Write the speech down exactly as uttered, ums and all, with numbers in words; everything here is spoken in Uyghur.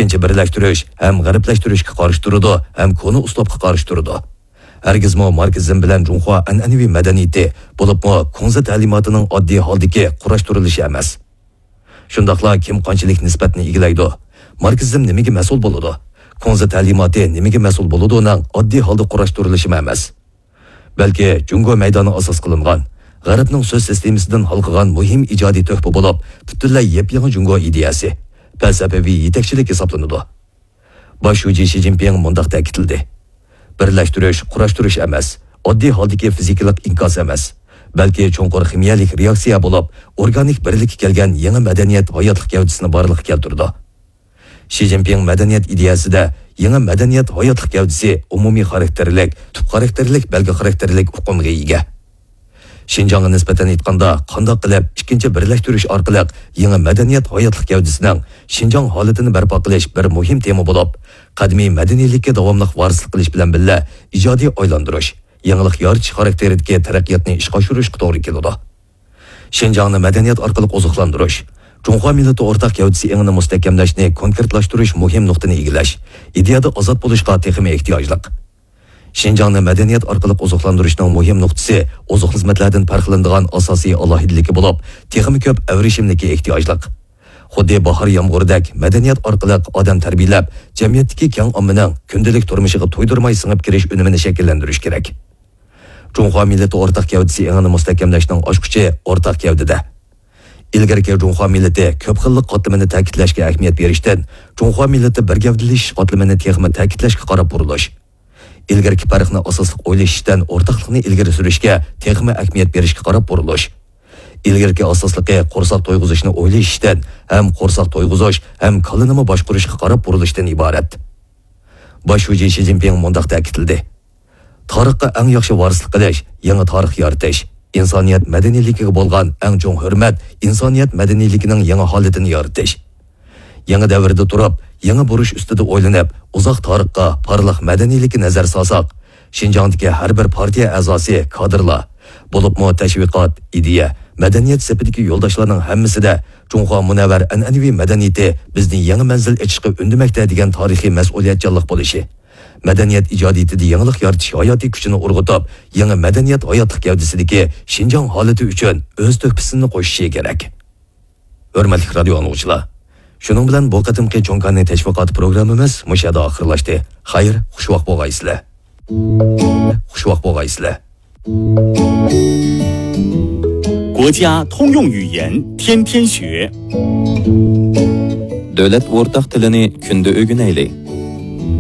ئىككىنچى بىرلەشتۈرۈش ھەم غەربلەشتۈرۈشكە قارشى تۇرىدۇ ھەم كونا ئۇسلۇبقا قارشى تۇرىدۇ. ھەرگىزمۇ ماركسىزم بىلەن جۇڭخۇا ئەنئەنىۋى مەدەنىيىتى، بولۇپمۇ كۇڭزى تەلىماتىنىڭ ئاددىي ھالدىكى قۇراشتۇرۇلۇشى ئەمەس. شۇنداقلا كىم قانچىلىك نىسبەتنى ئىگىلەيدۇ؟ ماركسىزم نېمىگە مەسئۇل بولىدۇ؟ كۇڭزى تەلىماتى نېمىگە مەسئۇل بولىدۇنىڭ ئاددىي ھالدا قۇراشتۇرۇلۇشىمۇ ئەمەس. بەلكى جۇڭگو مەيدانى ئاساس قىلىنغان، غەربنىڭ سۆز سىستېمىسىدىن ھالقىغان مۇھىم ئىجادىي تۆھپە بولۇپ، پۈتۈنلەي يېپيېڭى جۇڭگو ئىدىيەسى، پەلسەپىۋى يېتەكچىلىك ھېسابلىنىدۇ. باش شۇجى شى جىنپىڭ مۇنداق تەكىتلىدى: بىرلەشتۈرۈش، قۇراشتۇرۇش ئەمەس، ئاددىي ھالدىكى فىزىكىلىق ئىنكاس ئەمەس، بەلكى چوڭقۇر خىمىيەلىك رېئاكسىيە بولۇپ، ئورگانىك بىرلىككە كەلگەن يېڭى مەدەنىيەت ھاياتلىق گەۋدىسىنى بارلىققا كەلتۈرىدۇ. شى جىنپىڭ مەدەنىيەت ئىدىيەسىدە يېڭى مەدەنىيەت ھاياتلىق گەۋدىسى ئومۇمىي خاراكتېرلىك، تۈپ خاراكتېرلىك، بەلگە خاراكتېرلىك ئۇقۇمغا ئىگە. شىنجاڭغا نىسبەتەن ئېيتقاندا، قانداق قىلىپ ئىككىنچى بىرلەشتۈرۈش ئارقىلىق يېڭى مەدەنىيەت ھاياتلىق گەۋدىسىنىڭ شىنجاڭ ھالىتىنى بەرپا قىلىش بىر مۇھىم تېما بولۇپ، قەدىمىي مەدەنىيلىككە داۋاملىق ۋارىسلىق قىلىش بىلەن بىللە، ئىجادىي ئايلاندۇرۇش، يېڭىلىق يارىتىش خاراكتېرىدىكى تەرەققىياتنى ئىشقا ئاشۇرۇشقا توغرا كېلىدۇ. شىنجاڭنى مەدەنىيەت ئارقىلىق ئوزۇقلاندۇرۇش، جۇڭخۇا مىللىتى ئورتاق گەۋدىسى ئېڭىنى مۇستەھكەملەشنى كونكرېتلاشتۇرۇش مۇھىم نۇقتىنى ئىگىلەش، ئىدىيەدە ئازاد بولۇشقا تېخىمۇ ئېھتىياجلىق. شىنجاڭنى مەدەنىيەت ئارقىلىق ئوزۇقلاندۇرۇشنىڭ مۇھىم نۇقتىسى ئوزۇق خىزمەتلەردىن پەرقلىنىدىغان ئاساسىي ئالاھىدىلىكى بولۇپ، تېخىمۇ كۆپ ئەۋرىشىملىككە ئېھتىياجلىق. خۇددى باھار يامغۇرىدەك مەدەنىيەت ئارقىلىق ئادەم تەربىيەلەپ، جەمئىيەتتىكى كەڭ ئاممىنىڭ كۈندىلىك تۇرمۇشىغا تويدۇرماي سىڭىپ كىرىش ئۈنۈمىنى شەكىللەندۈرۈش كېرەك. جۇڭخۇا مىللىتى ئورتاق گەۋدىسى ئېڭىنى مۇستەھكەملەشنىڭ ئاچقۇچى ئورتاق گەۋدىدە. ئىلگىرىكى جۇڭخۇا مىللىتى كۆپ خىللىق قاتلىمىنى تەكىتلەشكە ئەھمىيەت بېرىشتىن، جۇڭخۇا مىللىتى بىر گەۋدىلىشىش قاتلىمىنى تېخىمۇ تەكىتلەشكە قاراپ بۇرۇلۇش. ئىلگىرىكى پەرقنى ئاساسلىق ئويلىشىشتىن، ئورتاقلىقنى ئىلگىرى سۈرۈشكە تېخىمۇ ئەھمىيەت بېرىشكە قاراپ بۇرۇلۇش. ئىلگىرىكى ئاساسلىقى قورساق تويغۇزۇشنى ئويلىشىشتىن ھەم قورساق تويغۇزۇش ھەم كاللىنىمۇ باشقۇرۇشقا قاراپ بۇرۇلۇشتىن ئىبارەت. باش شۇجى شى جىنپىڭ مۇنداق تەكىتلىدى: تارىخقا ئەڭ ياخشى ۋارىسلىق قىلىش، يېڭى تارىخ يارىتىش، ئىنسانىيەت مەدەنىيلىكىگە بولغان ئەڭ چوڭ ھۆرمەت، ئىنسانىيەت مەدەنىيلىكىنىڭ يېڭى ھالىتىنى يارىتىش. يېڭى دەۋردە تۇرۇپ، يېڭى بۇرۇش ئۈستىدە ئويلىنىپ، ئۇزاق تارىخقا، پارلاق مەدەنىيلىككە نەزەر سالساق، شىنجاڭدىكى ھەر بىر پارتىيە ئەزاسى، كادىرلار، بولۇپمۇ تەشۋىقات، ئىدىيە، مەدەنىيەت سېپىدىكى يولداشلارنىڭ ھەممىسىدە جۇڭخۇا مۇنەۋۋەر ئەنئەنىۋى مەدەنىيىتى بىزنى يېڭى مەنزىل ئېچىشقا ئۈندىمەكتە دېگەن تارىخىي مەسئۇلىيەتچانلىق بولۇشى، مەدەنىيەت ئىجادىيىتىدە يېڭىلىق يارىتىش ھاياتىي كۈچىنى ئۇرغۇتۇپ، يېڭى مەدەنىيەت ھاياتلىق گەۋدىسىدىكى شىنجاڭ ھالىتى ئۈچۈن ئۆز تۆھپىسىنى قوشۇشى كېرەك. ھۆرمەتلىك رادىيو ئاڭلىغۇچىلار، شۇنىڭ بىلەن بۇ قېتىمقى چوڭ كاننى تەشۋىقاتى پروگراممىمىز مۇشۇ يەردە ئاخىرلاشتى. خەير، خۇشۋاق بولغايسىلەر. خۇشۋاق بولغايسىلەر. 国家通用语言天天学。 دۆلەت ئورتاق تىلىنى كۈندە ئۆگىنەيلى.